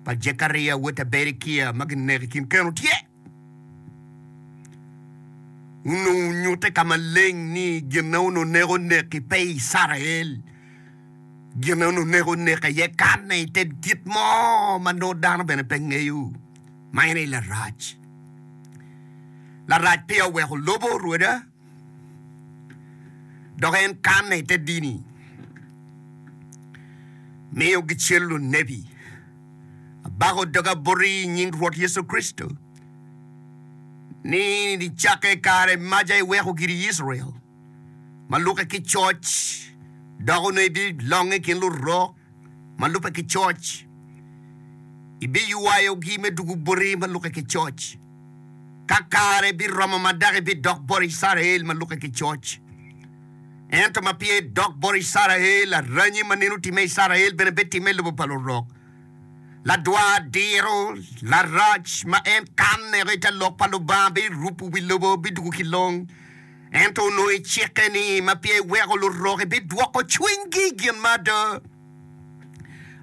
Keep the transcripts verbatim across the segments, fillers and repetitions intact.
pa Jekaria wod ta Berekia ma gineko i kin keno tye. Onongo onyutte ka maleng ni gin ma onongo neko nek-ki pe i Icrael. Gin ma onongo neko nek aye kanne i te kit mo ma nongo dano bene pe ngeyo, ma en aye Larac. Larac peya oweko lobo Rwoda, dok en kanne i te dini, miyo gicelo lunebi. Abako doga boti i nying Rwot Yecu Kricito ni nicakke i kare maca iweko giri i Icrael ma lukke ki coc, dok onongo ibilonge i kin lurok ma lubbe ki coc, ibiywayogi me dwogo boti ma lukke ki coc. Ka kare biromo ma dok ibidok bot Icrael ma lukke ki coc. Ento ma peya idok bot Icrael, aranyi ma nene otimme i Icrael bene bitimme i lobo pa lurok. Ladwar diro larac ma en kanne i te lok pa Lubanga birubo wi lobo bidwogo ki long. Ento onongo icikke ni ma peya iweko lurok ibidwoko cwinygi i gin ma ada.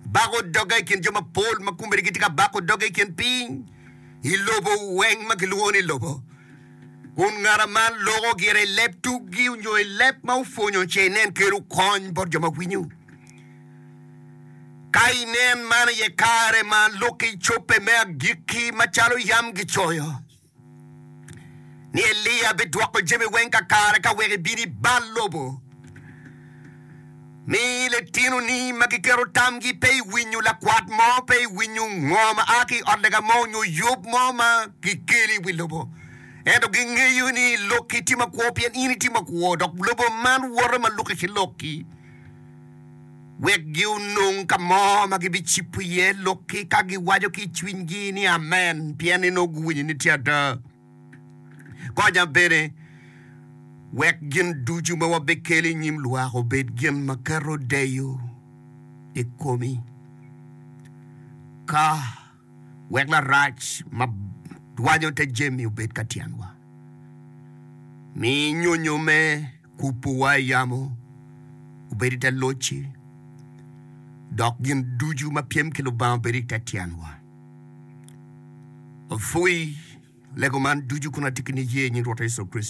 Bako doga i kin jo mapol ma kombeddi gitye ka bako doga i kin piny i lobo weng ma gilwongo ni lobo. Kun ngat man loko gire i leb tuggi nyo i leb ma opwonyo ce inen kelo kony bot jo ma winyo. Ka inen man aye kare ma lokki cobbe me agikki macalo yam gicoyo ni Elia bidwoko jami weng kakare ka wek ibin ibal lobo. Mi litinoni ma giketo tamgi pe i winyo lakwat mo, pe i winyo ngo ma a ki i ot lega mo nyo yub mo ma gikelo i wi lobo. Ento gingeyo ni lokki tye makwo pien in itye makwo, dok lobo man woto ma lukke ki lokki. Wek ginong ka mo ma gibicibo iye lokki ka giwaco ki i cwinygi ni Amen, pien ni nongo guwinyo ni tye ada. Konya bene wek gin ducu ma wabikelo i nyim lwak obed gin ma keto deyo i komi, ka wek larac ma dwanyo te jami obed ka tyenwa. Mi nyonyo me kubowa i yamo obed i te locci, dok gin ducu ma pyem ki Lubanga obed i te tyenwa. Apwoyi lego man ducu kun atye ki niye i nying Rwot Yecu Kricito.